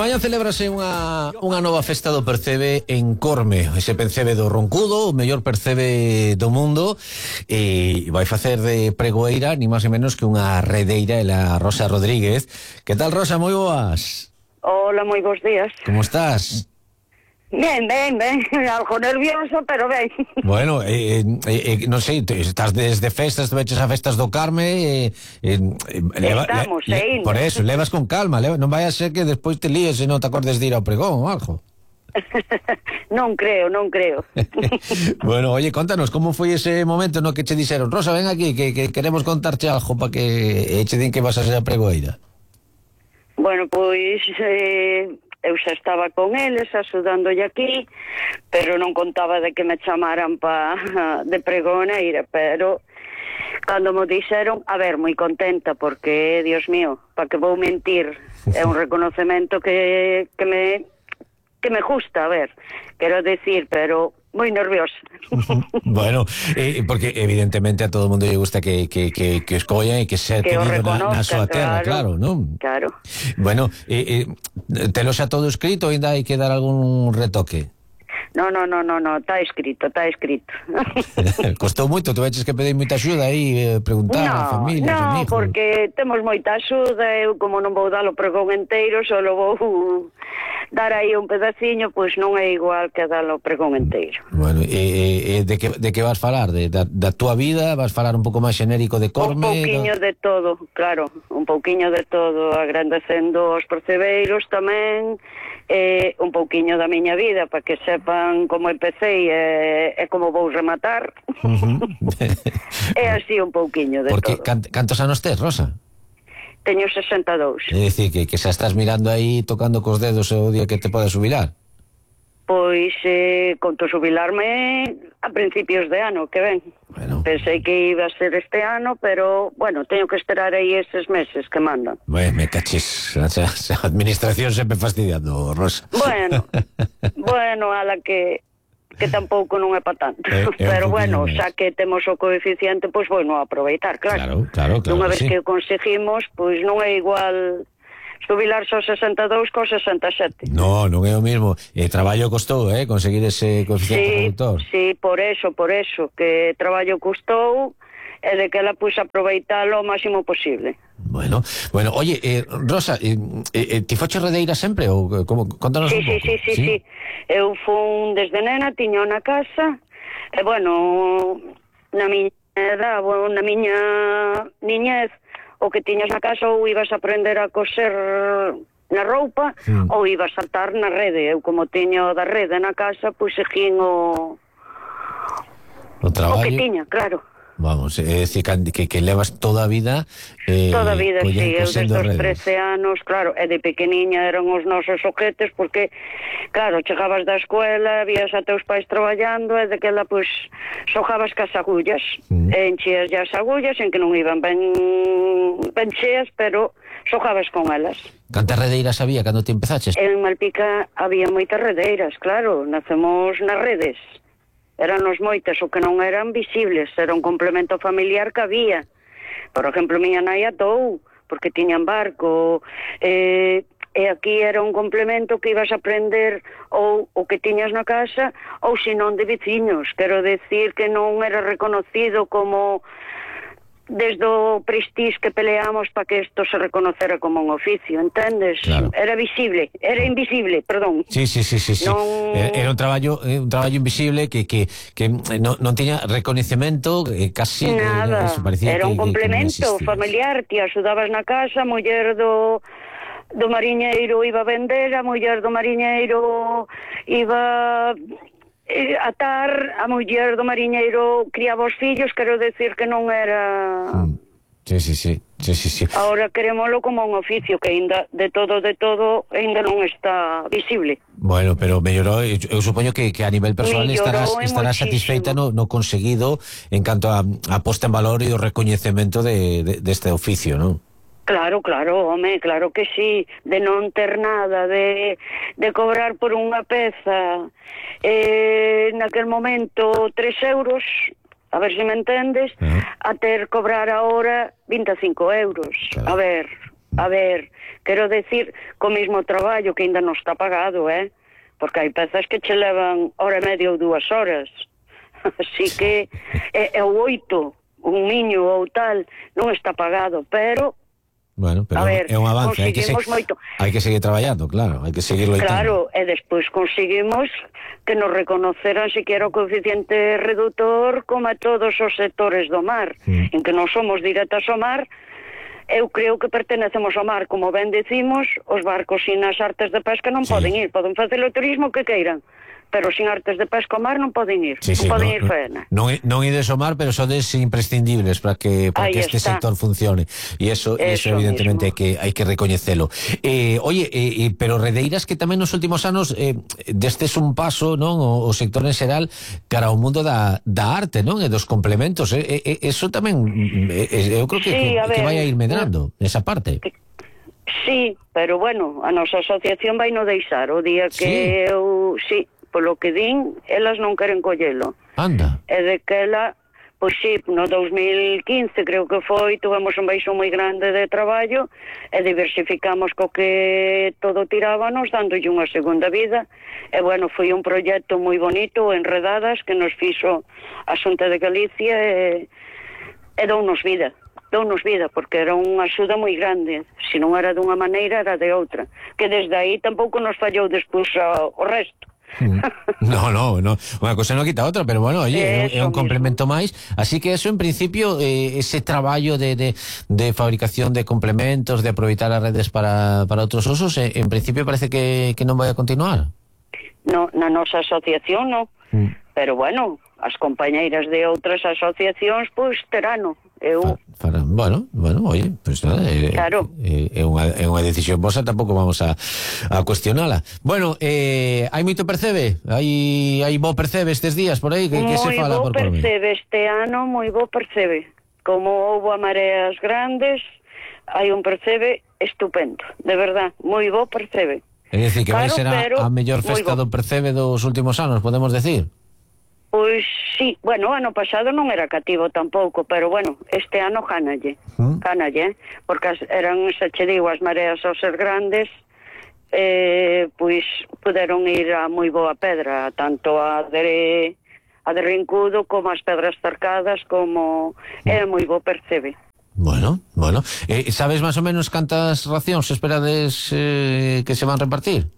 mañá celebrase unha nova festa do percebe en Corme. Ese percebe do Roncudo, o mellor percebe do mundo, e vai facer de pregoeira ni máis e menos que unha redeira, ela Rosa Rodríguez. Que tal, Rosa? Moi boas. Hola, moi bons días. Como estás? Ben, algo nervioso, pero ben. Bueno, non sei, estás desde festas, te veches a festas do Carme, Estamos, por eso, levas con calma, non vai a ser que despois te líes e non te acordes de ir ao pregón ou algo. Non creo. Bueno, oye, contanos, como foi ese momento no que che dixeron: Rosa, ven aquí, que queremos contarche algo para que che din que vas a ser a pregoeira? Bueno, pois eu xa estaba con eles axudándolle aquí, pero non contaba de que me chamaran de pregoneira, pero cando me dixeron, a ver, moi contenta, porque, Dios mío, para que vou mentir, é un reconocemento que me gusta, a ver, quero decir, pero moi nerviosa. Bueno, porque evidentemente a todo o mundo lle gusta que escollan e que sea tenido na súa terra, claro, non? Claro. Bueno, telo xa todo escrito, ainda hai que dar algún retoque? No, está escrito. Costou moito, tu veches que pedei moita axuda aí, preguntar a familia, amigos. No, porque temos moita axuda, eu como non vou dar o pregón enteiro, só vou dar aí un pedaciño, pois non é igual que dar o pregón enteiro. Bueno, de que vas falar? Da túa vida? Vas falar un pouco máis xenérico de Corme? Un pouquiño de todo, claro, un pouquiño de todo, agrandecendo os percebeiros tamén, un pouquiño da miña vida, para que sepan como empecé e como vou rematar. É así un pouquiño de porque todo. Porque cantos anos tes, Rosa? Teño 62. É dicir, que xa estás mirando aí, tocando cos dedos o día que te podes jubilar? Pois, conto jubilarme a principios de ano, que ven. Bueno. Pensei que iba a ser este ano, pero, bueno, teño que esperar aí estes meses que mandan. Bueno, me cachis, a administración sempre fastidiando, Rosa. Bueno, a la que tampouco non é para tanto. Pero, bueno, xa que temos o coeficiente, pois, bueno, aproveitar, claro. Claro, unha vez sí. que o conseguimos, pois non é igual jubilarse aos 62 co 67. Non é o mismo. Traballo costou, conseguir ese coeficiente reductor. Sí, por eso, que traballo custou e de que ela puxa aproveitalo o máximo posible. Bueno, oye, Rosa, ti foche redeira sempre ou como? Contanos un pouco. Sí. Eu fun desde nena, tiño na casa, e bueno, na miña edad, na miña niñez, o que tiñas na casa ou ibas a aprender a coser na roupa ou ibas a saltar na rede. Eu como tiño da rede na casa, pois seguín o traballo. O que tiña, claro. Vamos, é dicir que levas toda a vida toda a vida, sí, eu desde os 13 anos, claro, e de pequeniña eran os nosos objetos, porque claro, chegabas da escuela, vías a teus pais traballando e de que ela, pois, xogabas cas agullas, e enchías as agullas, en que non iban ben cheas, pero xogabas con elas. Cantas redeiras había cando te empezaches? En Malpica había moitas redeiras, claro, nacemos nas redes. Eranos moitas, o que non eran visibles, era un complemento familiar que había. Por exemplo, miña nai atou, porque tiñan barco, e aquí era un complemento que ibas a aprender ou o que tiñas na casa, ou senón de veciños. Quero decir que non era reconocido como desde o prestís que peleamos para que isto se reconocera como un oficio, entendes? Claro. Era invisible, perdón. Sí. Non... Era un traballo invisible que non tiña recoñecemento, casi nada, era un complemento familiar. Ti axudabas na casa, a muller do mariñeiro iba a vender, a muller do mariñeiro iba atar, a muller do mariñeiro criaba os fillos, quero decir que non era... Sí. Ahora querémolo como un oficio que ainda de todo ainda non está visible. Bueno, pero mellorou, eu supoño que a nivel personal estarás satisfeita no conseguido en canto a posta en valor e o recoñecemento deste oficio, non? Claro, home, claro que sí, de non ter nada, de cobrar por unha peza, naquel momento 3 euros, a ver se me entendes, a ter cobrar ahora 25 euros. Claro. A ver, A ver, quero decir, co mismo traballo que ainda non está pagado, porque hai pezas que che levan hora e media ou 2 horas. Así que é o 8, un niño ou tal, non está pagado, pero... Bueno, pero ver, é un avance, hai que seguir traballando, claro, hai que seguir loitando. Claro, e despois conseguimos que nos reconoceran siquiera o coeficiente reductor como a todos os sectores do mar, en que non somos directas ao mar. Eu creo que pertenecemos ao mar, como ben decimos, os barcos sin as artes de pesca non poden ir, poden facer o turismo que queiran, pero sin artes de pesca ao mar non poden ir, non poden ir faena. Non ides ao mar, pero sodes imprescindibles para que este sector funcione, e eso evidentemente hai que recoñecelo. Oye, pero redeiras que tamén nos últimos anos destes un paso, non, o sector en xeral cara ao mundo da arte, non, e dos complementos, eso tamén eu creo que vai a ir medrando esa parte. Sí, pero bueno, a nosa asociación vai no deixar o día que eu... Sí, polo que din, elas non queren collelo. Anda. E de que ela, pois sí, no 2015 creo que foi, tuvemos un baixo moi grande de traballo e diversificamos co que todo tirábamos, dándolle unha segunda vida. E bueno, foi un proxecto moi bonito, Enredadas, que nos fixo a Xunta de Galicia e dounos vida, porque era unha axuda moi grande. Se non era dunha maneira, era de outra. Que desde aí tampouco nos fallou despois o resto. No, unha cosa non quita outra, pero bueno, oye, é un complemento máis, así que eso en principio, ese traballo de fabricación de complementos, de aproveitar as redes para outros usos, en principio parece que non vai a continuar. No, na nosa asociación non, pero bueno, as compañeiras de outras asociacións pois terano. Bueno, oye, pues nada, claro. É unha decisión vosa, tampouco vamos a cuestionala. Bueno, hai moito percebe? Hai bo percebe estes días por aí? Que se fala por Corme? Moi bo percebe este ano, moi bo percebe. Como houbo a mareas grandes, hai un percebe estupendo, de verdad, moi bo percebe. É dicir, que vai ser a mellor festa do percebe dos últimos anos, podemos decir? Pois sí, bueno, ano pasado non era cativo tampouco, pero bueno, este ano cánalle, porque eran, se che digo, as mareas ao ser grandes, pois puderon ir a moi boa pedra, tanto a de Rincudo como as pedras cercadas, como é moi bo percebe. Bueno, sabes máis ou menos cantas racións esperades que se van repartir?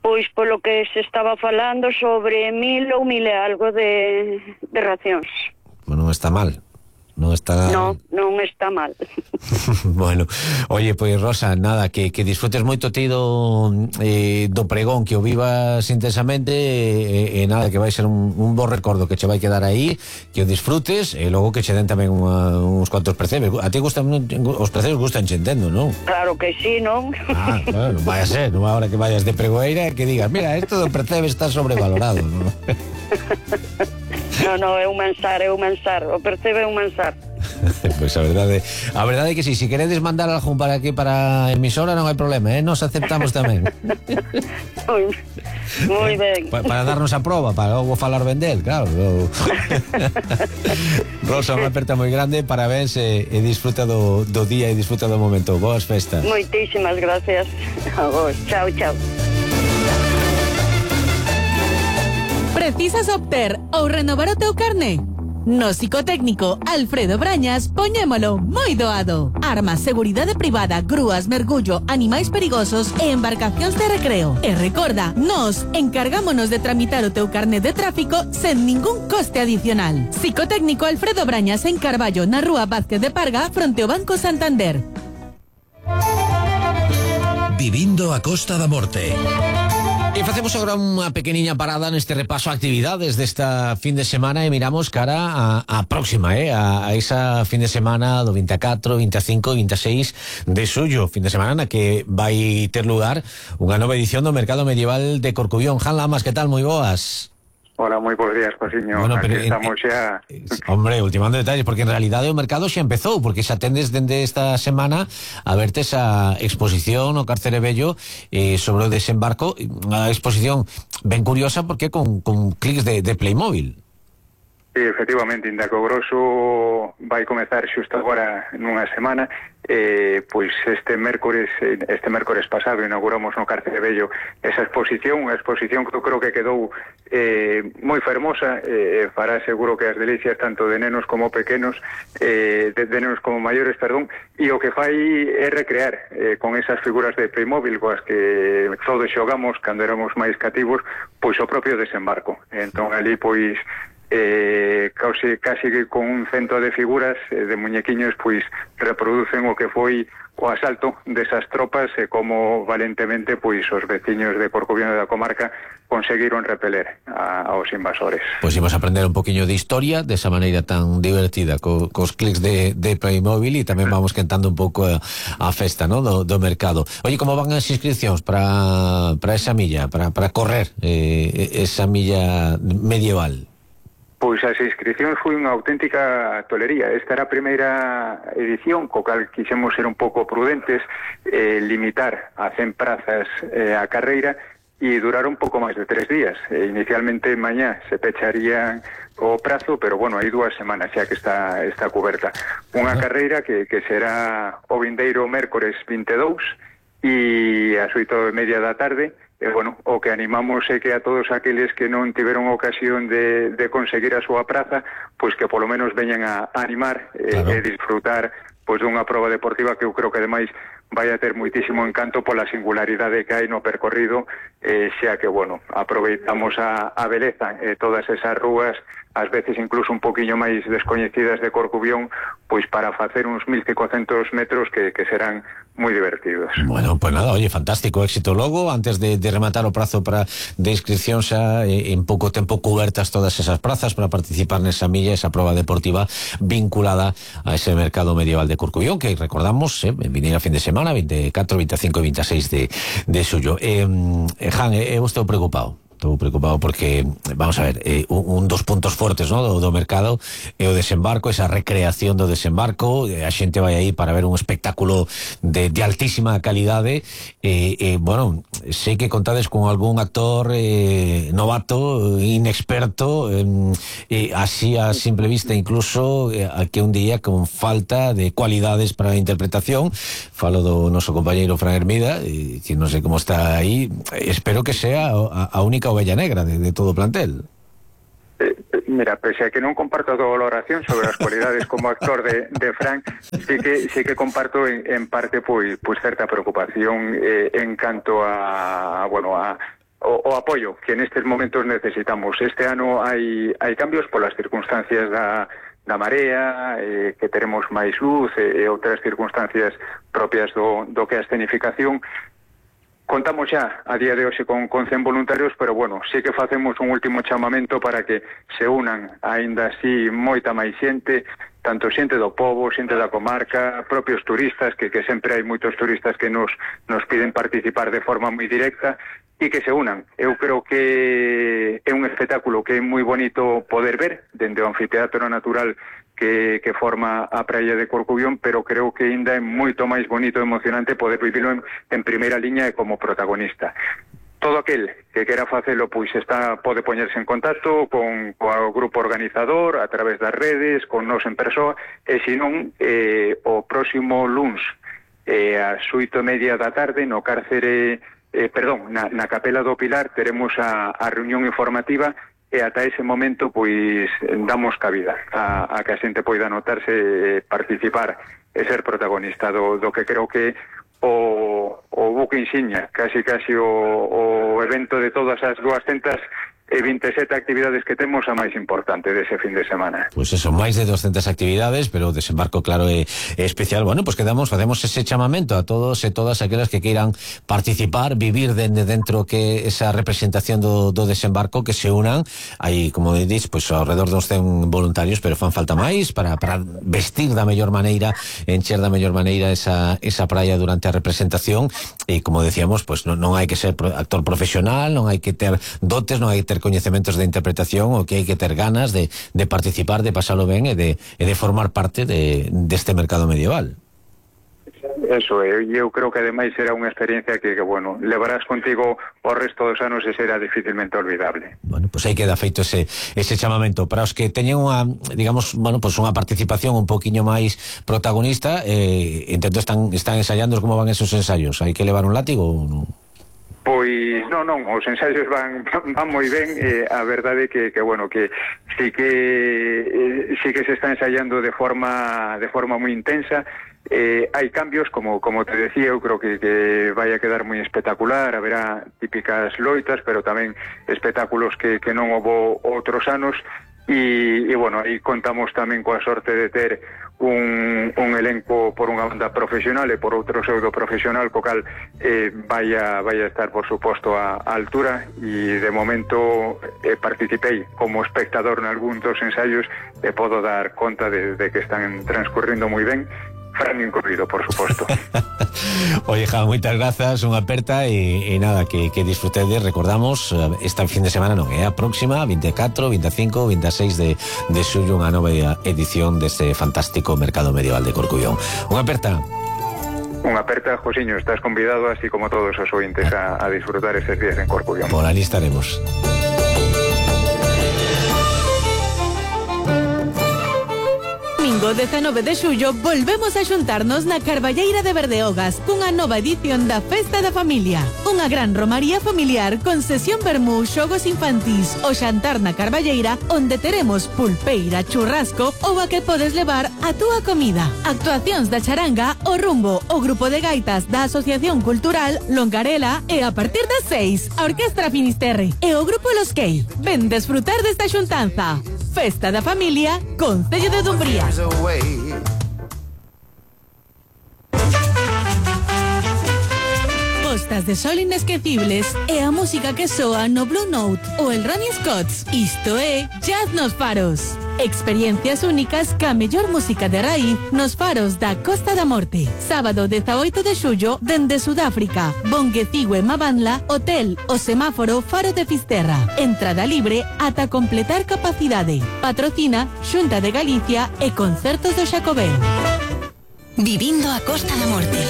Pois polo que se estaba falando sobre 1.000 ou 1.000 e algo de racións. Bueno, non está mal. Non está mal. Bueno, oye, pois Rosa, nada, que disfrutes moito ti do pregón, que o vivas intensamente, e nada, que vai ser un bo recordo que che vai quedar aí, que o disfrutes, e logo que che den tamén uns cuantos percebes. A ti gustan os percebes, gustan che, entendo, non? Claro que sí, non? Bueno, vai a ser, non hora que vayas de pregoeira e que digas, mira, esto do percebe está sobrevalorado, non? No, é un mansar, o percebe é un mansar. Pois a verdade é que si queredes mandar algún para aquí, para a emisora, non hai problema, nos aceptamos tamén. Moi ben. Para darnos a proba, para logo falar vendel, claro. Rosa, unha aperta moi grande, parabéns, e disfruta do día e disfruta do momento. Boas festas. Moitísimas gracias a vos. Chao. Precisas obter ou renovar o teu carné? No psicotécnico Alfredo Brañas poñémolo moi doado. Armas, seguridade privada, grúas, mergullo, animais perigosos e embarcacións de recreo. E recorda, nos encargámonos de tramitar o teu carné de tráfico sen ningún coste adicional. Psicotécnico Alfredo Brañas en Carballo, na rúa Vázquez de Parga, fronte ao Banco Santander. Vivindo a Costa da Morte. E facemos agora unha pequeniña parada neste repaso a actividades desta fin de semana e miramos cara a próxima, a esa fin de semana do 24, 25 e 26 de xullo, fin de semana na que vai ter lugar unha nova edición do Mercado Medieval de Corcubión. Jan Lamas, que tal? Moi boas. Hola, moi bons días, Josiño. Bueno, aquí estamos xa... Hombre, ultimando detalles, porque en realidade o mercado xa empezou, porque xa tendes dende esta semana a verte esa exposición o Cárcere Bello sobre o desembarco, unha exposición ben curiosa porque con clics de Playmobil. Sí, efectivamente, inda que o grosso vai comezar xusto agora nunha semana, pois este mércores pasado inauguramos no Cárcere Vello esa exposición, unha exposición que eu creo que quedou moi fermosa, fará seguro que as delicias tanto de nenos como pequenos, de nenos como maiores, perdón, e o que fai é recrear con esas figuras de Playmobil coas que todos xogamos cando éramos máis cativos, pois o propio desembarco. Entón ali pois casi que con un cento de figuras de muñequiños pois reproducen o que foi o asalto desas tropas e como valentemente pois os veciños de Corcubión e da comarca conseguiron repeler aos invasores. Pois imos aprender un poquinho de historia desa maneira tan divertida cos clics de Playmobil e tamén vamos quentando un pouco a festa, ¿no? do mercado. Oye, como van as inscripcións para esa milla, para correr esa milla medieval? Pois as inscripcións foi unha auténtica tolería. Esta era a primeira edición, co cal quixemos ser un pouco prudentes, limitar a 100 prazas a carreira e durar un pouco máis de 3 días. Inicialmente mañá se pecharía o prazo, pero bueno, hai 2 semanas xa que está coberta. Unha carreira que será o vindeiro mércores 22 e ás 8:30 da tarde. Bueno, o que animamos é que a todos aqueles que non tiveron ocasión de conseguir a súa praza, pois que polo menos veñan a animar e disfrutar pois dunha proba deportiva que eu creo que ademais vai a ter moitísimo encanto pola singularidade que hai no percorrido, xa que, bueno, aproveitamos a beleza todas esas rúas, ás veces incluso un poquinho máis descoñecidas de Corcubión, pois para facer uns 1500 metros que serán moi divertidos. Bueno, pues nada, oye, fantástico éxito logo, antes de rematar o prazo de inscripción xa en pouco tempo cubertas todas esas prazas para participar nesa milla, esa proba deportiva vinculada a ese mercado medieval de Corcubión, que recordamos, vineira fin de semana, 24, 25 e 26 de xullo. Jan, eu estou preocupado porque, vamos a ver, un dos puntos fortes, ¿no? do mercado é o desembarco, esa recreación do desembarco, a xente vai aí para ver un espectáculo de altísima calidade, bueno, sei que contades con algún actor novato, inexperto, así a simple vista incluso, que un día con falta de cualidades para a interpretación. Falo do noso compañeiro Fran Hermida, que non sei como está aí, espero que sea a única ovella negra de todo o plantel. Mira, pese a que non comparto a tua valoración sobre as cualidades como actor de Frank, sí que comparto en parte pois certa preocupación en canto a o apoio que nestes momentos necesitamos. Este ano hai cambios polas circunstancias da marea, que teremos máis luz e outras circunstancias propias do que a escenificación. Contamos xa a día de hoxe con 100 voluntarios, pero bueno, sí que facemos un último chamamento para que se unan aínda así moita máis xente, tanto xente do pobo, xente da comarca, propios turistas, que sempre hai moitos turistas que nos piden participar de forma moi directa, e que se unan. Eu creo que é un espectáculo que é moi bonito poder ver dende o anfiteatro natural que forma a praia de Corcubión, pero creo que ainda é moito máis bonito e emocionante poder vivilo en primeira liña e como protagonista. Todo aquel que quera facelo pois pode poñerse en contacto con o grupo organizador a través das redes, con nos en persoa, e senón o próximo luns ás 8:30 da tarde no Cárcere, na Capela do Pilar teremos a reunión informativa e ata ese momento pois damos cabida a que a xente poida anotarse, participar e ser protagonista do que creo que o buque insignia, casi o evento de todas as 227 actividades que temos, a máis importante dese fin de semana. Pois eso, máis de 200 actividades, pero o desembarco claro é especial. Bueno, pois facemos ese chamamento a todos e todas aquelas que queiran participar, vivir dentro que esa representación do desembarco, que se unan. Hai, como dís, pois alrededor dos 100 voluntarios, pero fan falta máis para vestir da mellor maneira, encher da mellor maneira esa praia durante a representación. E como decíamos, pois non hai que ser actor profesional, non hai que ter dotes, non hai que ter coñecementos de interpretación, o que hai que ter ganas de participar, de pasalo ben e de formar parte deste mercado medieval. Eso, eu creo que ademais será unha experiencia que bueno, levarás contigo o resto dos anos e será dificilmente olvidable. Bueno, pues aí queda feito ese chamamento para os que teñen unha, digamos, bueno, pues unha participación un poquiño máis protagonista. Entendo están ensayando como van esos ensayos. Hai que levar un látigo ou non? Pois non, os ensaios van moi ben. A verdade que bueno, que sí que se está ensaiando de forma moi intensa. Hai cambios, como te decía, eu creo que vai a quedar moi espectacular. Haberá típicas loitas, pero tamén espectáculos que non houbo outros anos. E bueno, aí contamos tamén coa sorte de ter un elenco por unha banda profesional e por outro pseudo profesional, co cal vai a estar, por suposto, a altura. E de momento participei como espectador en algún dos ensaios e podo dar conta de que están transcurrindo moi ben, Fran incluído, por suposto. Oye, Jan, moitas grazas, unha aperta e nada, que disfrutedes. Recordamos, esta fin de semana non é a próxima, 24, 25, 26 de xullo, unha nova edición deste fantástico mercado medieval de Corcubión. Unha aperta. Unha aperta, Josiño, estás convidado, así como todos os ointes, a disfrutar estes días en Corcubión. Por ali estaremos. Domingo 19 de xullo volvemos a xuntarnos na Carballeira de Berdeogas cunha nova edición da Festa da Familia. Unha gran romaría familiar con sesión vermú, xogos infantís, o xantar na Carballeira, onde teremos pulpeira, churrasco ou a que podes levar a túa comida. Actuacións da charanga, o rumbo, o grupo de gaitas da Asociación Cultural Longarela e a partir das 6, a Orquestra Finisterre e o grupo Los Key. Ven desfrutar desta xuntanza. Festa da Familia, Concello de Dumbría. Postas de sol inesquecibles e a música que soa no Blue Note ou el Ronnie Scott's. Isto é Jazz nos Faros. Experiencias únicas ca mellor música de raíz nos faros da Costa da Morte. Sábado 18 de xullo dende Sudáfrica, Bonguecigue Mabanla, Hotel O Semáforo Faro de Fisterra. Entrada libre ata completar capacidade. Patrocina Xunta de Galicia e Concertos do Xacobeo. Vivindo a Costa da Morte.